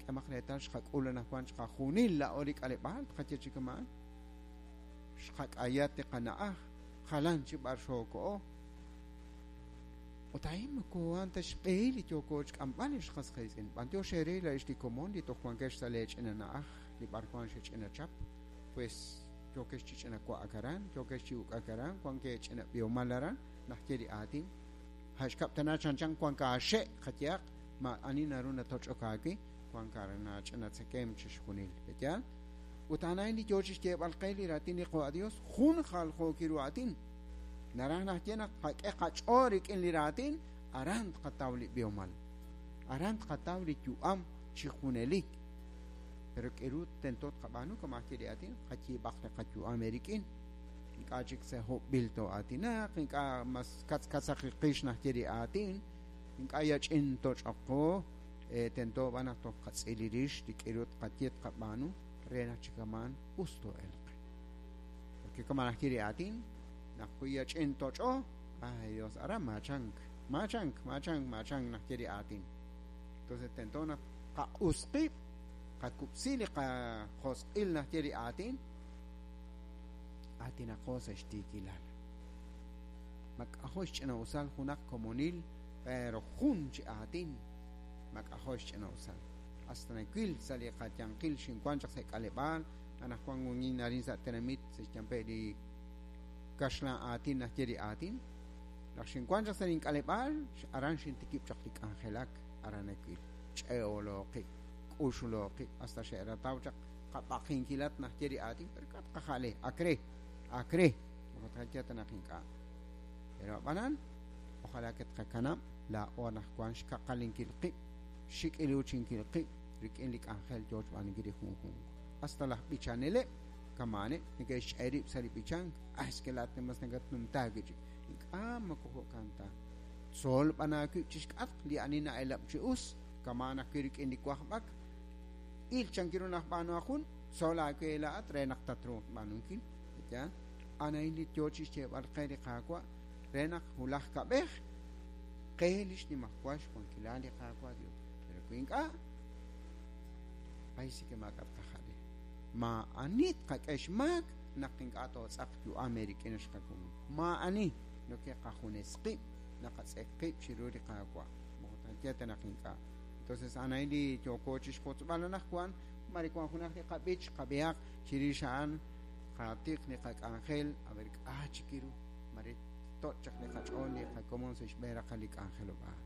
K'emaq reetal xqak'ul anaqwan chiqajunil laa'o li k'aleb'aal tqaye chi kama'an. Xqak'ayat li qana'aj, jalan chi b'ar xookoho. Ut a'in moko a'an ta xb'ehil li yooko xk'amb'al ex qas qiitz'in. B'antiox eere laa'ex li komon li toj wankex sa' lee ch'ina na'aj li b'arwan xech'ina chap, pues yookex chi ch'ina wa'ak aran, yookex chi uk'ak aran, wank eech'ina b'ihomal aran, naxye li aatin. A' xkab' tana chanchan wank aaxe' qayehaq, maa'ani naru natoch'ok aawe, wank aran aach'ina tzekemq chixjunil. Pe'yaal? Ut a'an a'in li yoo chixyeeb'al qe li raatin li Qaawa' Dios, jun jaljookil ru aatin. Naraj naxye naq tqak'e qach'ool rik'in li raatin, aran tqataw li b'ihomal. Aran tqataw li yu'am chi junelik. Pero k'aru tento tqab'aanu kama' ajwi' li aatin? Qayiib'aq li qayu'am eerik'in. Ink'a' chik sa' hob'b'il too'aatinaq, ink'a' mas katzkatzaq li qix naxye li aatin, ink'a' yach'in toch'oqo, tento b'an naq toj qatz'ili rix li k'aru tqaye tqab'aanu re naq chi kama'an us too'elq. Porque kama' naxye li aatin, naq wi yach'in toch'o, ay Dios, aran maachank, maachank, maachank, maachank naxye li aatin. Entonces tento naq qaq'us qib', qakub'si li qajosq'il naxye li aatin, aatinaqo sa' xtiikilal. Mak'ajo' xch'ina'usal junaq komonil, pero jun chi aatin, mak'ajo' xch'ina'usal. Hasta nawil sa' li qayanqil xinwank chaq sa' k'aleb'aal, anaqwan wankin arin sa' tenamit sa' xyanpe' li kaxlan aatin naxye li aatin. Naq xinwank chaq sa' link'aleb'aal, aran xintikib' chaq li k'anjelak, aran nawil. Ch'e'olooqib', k'uxlooqib', hasta xe'rataw chaq qab'aqinkilat naxye li aatin, pero k'a' tqaja'le, ak re, ak re, moko tqaye ta naq ink'a'. Pero ab'anan, ojalá que tqakanab' laa'o anaqwan xkaqalinkil qib', xxik'iluuchinkil qib' rik'in li k'anjel yoo xb'aanunkil li junjunq. Hasta laj b'ichaneleb' kama'aneb' neke'xch'e rib' sa' li b'ichank, ah, es que laa'at mas nakatnumtaak wi' chik. Ink'a' moko jo'kan ta. Tzol b'an aawib' chixk'atq li ani na'elab' chi us, kama'an ajwi' rik'in li wajb'ak. Il chankiru naq b'aanu jun, tzol aawe laa'at re naq tatruuq xb'aanunkil. Yaal, a'an a'in li yoo chixyeeb'al qe li Qaawa' re naq wulaj kab'ej qe li xnimajwal xwankilal li Qaawa' Dios. Pero wi ink'a', ay sí que maak'a' tqaja'le. Maa'ani tqak'e xmaak naq ink'a' tootz'aq yu'am eerik'in ex qakomon. Maa'ani noke qajunes qib' naqatz'eq qib' chiru li Qaawa'. Moko tqaye ta naq ink'a'. Entonces a'an a'in li yooko chixwotzb'al anaqwan, mare wank junaq li qab'ich qab'ihaq chirix a'an qatiq li qak'anjel, a ver k'a' chik ru, mare toch' chaq li qach'ool li qakomon sa' xb'een raqal li k'anjelob'aal.